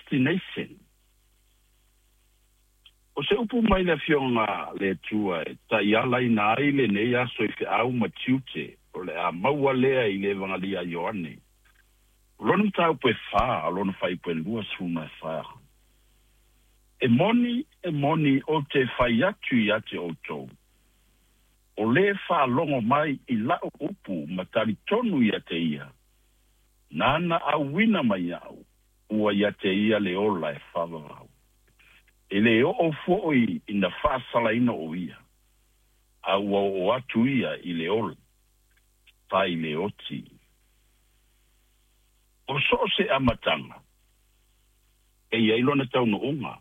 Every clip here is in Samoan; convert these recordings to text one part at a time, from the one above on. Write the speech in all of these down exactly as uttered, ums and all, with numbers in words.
destination. O se upu mai le Afioga le Atua e taialaina ai lenei aso i feau ma tiute o le a maua lea i le Evagalia a Ioane. O lona mataupu e fa, o lona fuaiupu e luasefulu ma fa. E moni, e moni, ou te fai atu ia te outou. O le faalogo mai i lau upu ma talitonu ia te ia. Nāna auina mai au, ua ia te ia le ola e faavavau. E le oo foi ina faasalaina o ia, a ua oo atu ia i le ola, sa i le oti. O so o se amataga, e i ai lona taunuuga.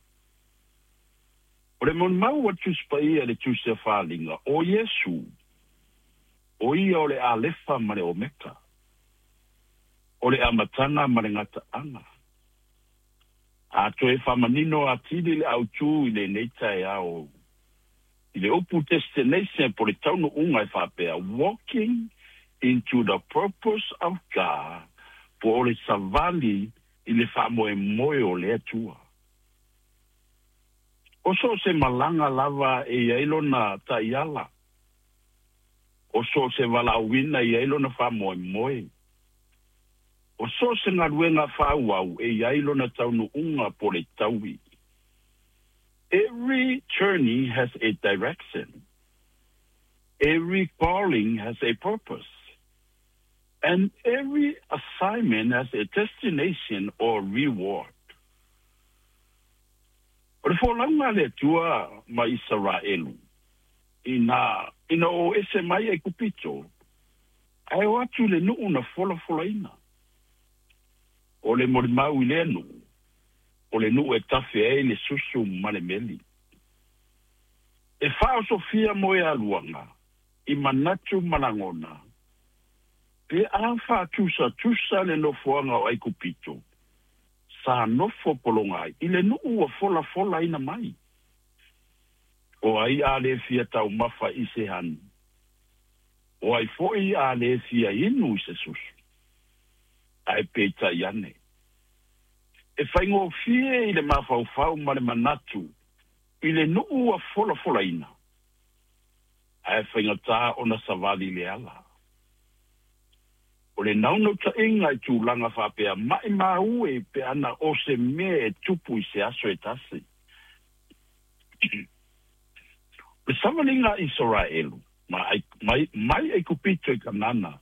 O le molimau a Tusi Paia le Tusi a Faaaliga, o Iesu, o ia o le Alefa ma le Omeka, o le amataga ma le gataaga. A toe faamanino atili le autū i lenei taeao. I le upu destination po le taunuuga e faapea, walking into the purpose of God, po o le savali i le faamoemoe o le Atua. O so o se malaga lava e i ai lona taiala. O so o se valaauina e i ai lona faamoemoe. O so o se galuega faaauau e i ai lona taunuuga po le taui. Every journey has a direction. Every calling has a purpose. And every assignment has a destination or reward. O le folauga a le Atua ma Isaraelu, ina ina o ese mai Aikupito, ae o atu i le nuu na folafolaina. O le molimau i lea nuu, o le nuu e tafe ai le susu ma le meli. E faaosofia moealuaga i manatu ma lagona, pe a faatusatusa le nofoaga o Aikupito, sa nofo pologa ai i le nuu ua folafolaina mai. O ai a le fia taumafa i se hani? O ai foi a le fia inu i se susu? Ae peitai ane, e faigofie i le mafaufau ma le manatu i le nuu ua folafolaina, ae faigata ona savali le ala. O le naunautaiga i tulaga faapea, maimau e pe ana o se mea e tupu i se aso e tasi. O le savaliga a Isaraelu mai, mai, mai Aikupito i Kanana,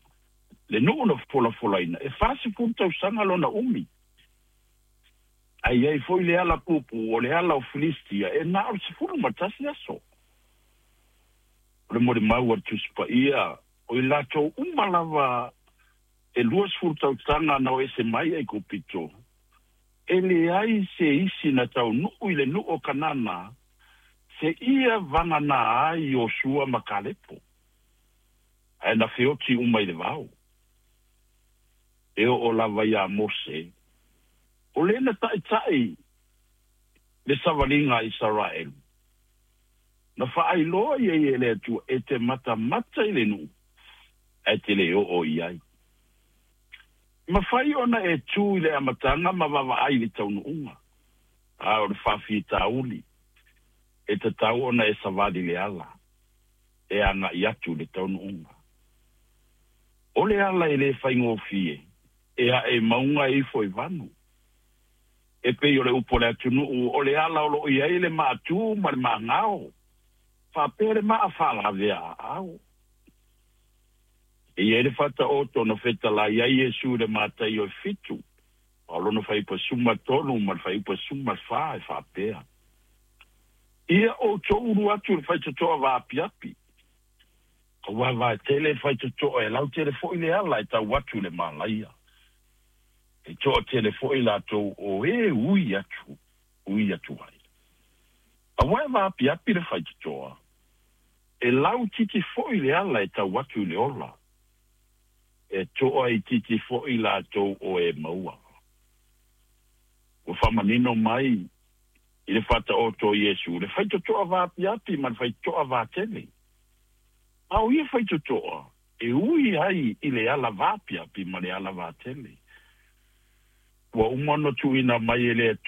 le nuu na folafolaina, e fasefulu tausaga lona umi. Ae i ai foi le ala puupuu o le ala o Filistia e na o le sefulu ma tasi aso. O le molimau a le Tusi Paia, o i latou uma lava e luasefulu tausaga na o ese mai Aikupito, e leai se isi na taunuu i le nuu o Kanana, seia vagana ai Iosua ma Kalepo, ae na feoti uma i le vao. E oo lava iā Mose, o le na taʻitaʻi le savaliga a Isaraelu, na faailoa i ai e le Atua e te matamata i le nuu, ae te le oo i ai. E mafai ona e tu i le amataga ma vaavaai i le taunuuga, a o le faafitauli e tatau ona e savali le ala e agai atu i le taunuuga. O le ala e le faigofie, e ae i mauga e ifo i vanu. E pei o le upu a le atunuu, o le ala o loo i ai le maatū ma le maagao, faapea le maa faalavea aao. E i ai le faataoto na fetalai ai Iesu i le Mataio e fitu, a o lona fuaiupu e sefulumatolu ma le fuaiupu e sefulumafa e faapea, Ia outou ulu atu i le faitotoa vaapiapi, aua e vaetele le faitotoa e lautele foi le ala e tau atu i le malaia. E toatele foi latou o e ui atu, ui atu ai. Aua e vaapiapi le faitotoa, e lautiti foi le ala e tau atu i le ola, e toaitiiti foi latou o e maua. Ua faamanino mai i le faataoto o Iesu le faitotoa vaapiapi ma le faitotoa vatele. A o ia faitotoa e ui ai i le ala vaapiapi ma le ala vatele. Ua uma ona tuuina mai e le Atua.